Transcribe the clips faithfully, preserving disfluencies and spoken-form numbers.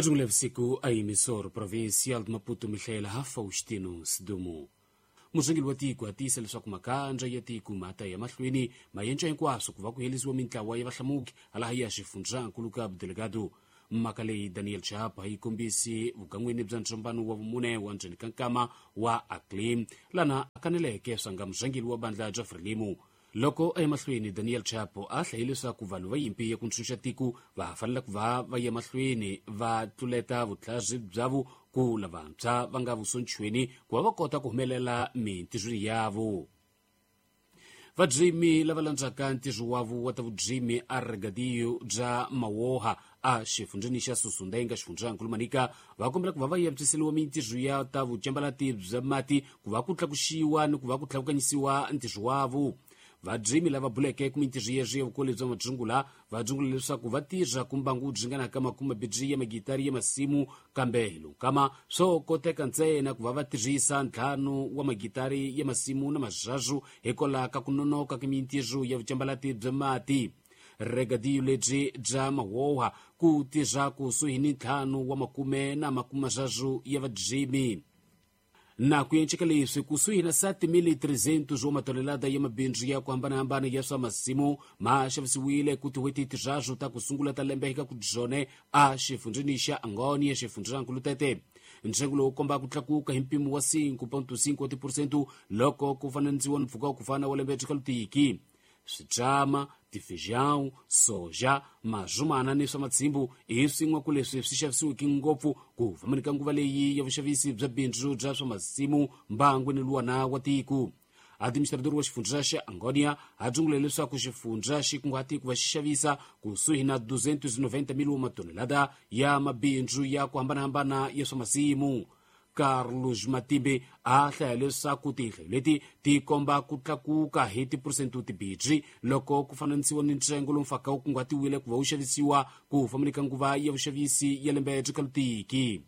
Majungula vusiku a emissor provincial de Maputo Mihaela Faustino Sidumo. Murhangeri wa tiko a tiyisa leswaku makandza ya tiko ma ta ya mahlweni ma yenca hinkwaswo ku va ku herisiwa mintlawa ya vahlamuki halaha ya xifundzankulu Cabo Delgado. Mhaka leyi Daniel Chapa yi kombisi vugan'wini bya ntsombano wa vumune wa ndzeni ka nkama wa ACLIM lana a kaneleke swanga murhangeri wa bandla bya Frelimo. Loko a ya mahlweni Daniel Chapo a hlaye leswaku vanhu va yimpi ya ku ntshunxa tiko va fanele ku va va ya mahlweni va tluleta vutlhari byavo ku lavantshwa va nga vusonchweni ku va va kota ku humelela mintirhweni yavo. Vadzimi lava landzaka ntirho wavo wa ta vudzimi a regadio bya Mawoha a xifundzheni xa Sussundenga xifundzankulu Manica va kombela ku va va antswiseriwa mintirho ya ta vucambalati bya mati ku va ku tlakuxiwa ni ku va ku tlakukanyisiwa ntirho wavo. Vadzimi lava buleke ku mintirho yeswi ya vukoli bya madzungula va dzungula leswaku va tirha ku mbangu byi nga na ka makume bibiri ya magitari ya masimu kambe hi lonkama swo koteka ntsena ku va va tirhisa ntlhanu wa magitari ya masimu na mazhazu hikwalaho ka ku nonoka ka mintirho ya vucambalati bya mati. Regadio lebyi bya Mawoha ku tirha kusuhi ni ntlhanu wa makume na makume mazhazu ya vadzimi. Na ku enceka leswi kusuhi na sete mil trezentos wa matonelada ya mabindzu ya ku hambanahambana ya swa masimu ma xavisiwile ku tin'hweti tinharhu ta ku sungula ta lembe eka ku dzone a xifundzheni xa Angônia xifundzankulu Tete. Ntsengo lowu komba ku tlakuka hi mpimo wa cinco ponto cinco wa tiphurosente loko ku fananisiwa ni mpfhuka wa ku fana wa lembe xikalutiki. Switrama, tifeijão, soja, mazumana ni swa matsimbu hi swin'we ku leswi swi xavisiweke ngopfu ku fambeni ka nguva leyi ya vuxavisi bya bindzu bya swa masimu mbangwini luwana wa tiko. Administrador wa xifundza xa Angônia a dzungule leswaku xifundza xi kunguhate ku va xi xavisa kusuhi na duzentos e noventa mil wa matonelada ya mabindzu ya ku hambanahambana ya swa masimu. Carlos Matimbe a hlaya leswaku tinhlayo leti ti komba ku tlakuka hi tiphurosente timbirhi loko ku fananisiwa ni ntsengo lowu mfaka wu kunguhatiwile ku va wu xavisiwa ku fambeni ka nguva ya vuxavisi ya lembe xikalutiki.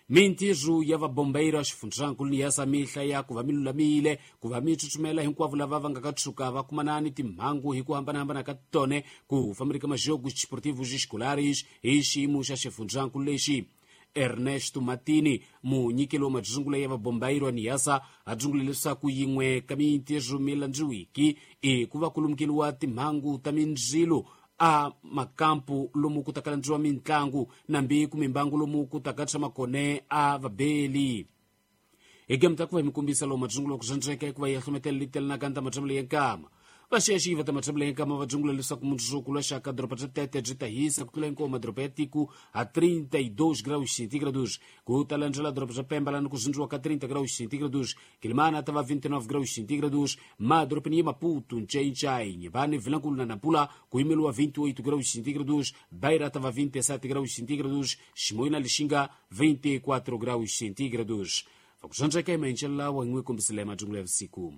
Mintirho ya vabombeiro xifundzankulu ni ya mihla ya ku va mi lulamile ku va mi tsutsumela hinkwavo lava va nga ka tshuka va kumana ni timhangu hi ku hambanahambana ka tone ku fambeni ka majogos desportivos escolares hi xiyimo xa xifundzankulu lexi. Ernesto Matini munyikeli wa madzungula ya vabombairo Niasa a dzungule leswaku yin'we ka mintirho mi landziwiki i ku va ku lumukeliwa timhangu ta mindzilo a makampu lomu ku taka landziwa mintlangu nambi ku mimbangu lomu ku taka tshama kone a vabeli. Hi game ta ku va hi mi kombisa lowu madzungula ku zwandzeka hikuva ya hlometela litelana ta matshambelo ya nkama. Vaxexi va ta matshambelo ya nkama va dzungula leswaku mundzuku lwa xaka doroba bya Tete byi ta hisa ku tlula hinkwawo madoroba ya tiko a trinta e dois graus centígrados. Ku ta landzela doroba bya Pemba lani ku zindziwa ka trinta graus centígrados, Quilimana ta va vinte e nove graus centígrados, madorobeni ya Maputo, Nchainchai, Inhambane, Vilankulo na Nampula ku yimeliwa vinte e oito graus centígrados, Beira ta va vinte e sete graus centígrados, Chimoio na Lixinga vinte e quatro graus centígrados. Vakusandzeka emenxela wa n'wi kombisile madzungula ya vusiku.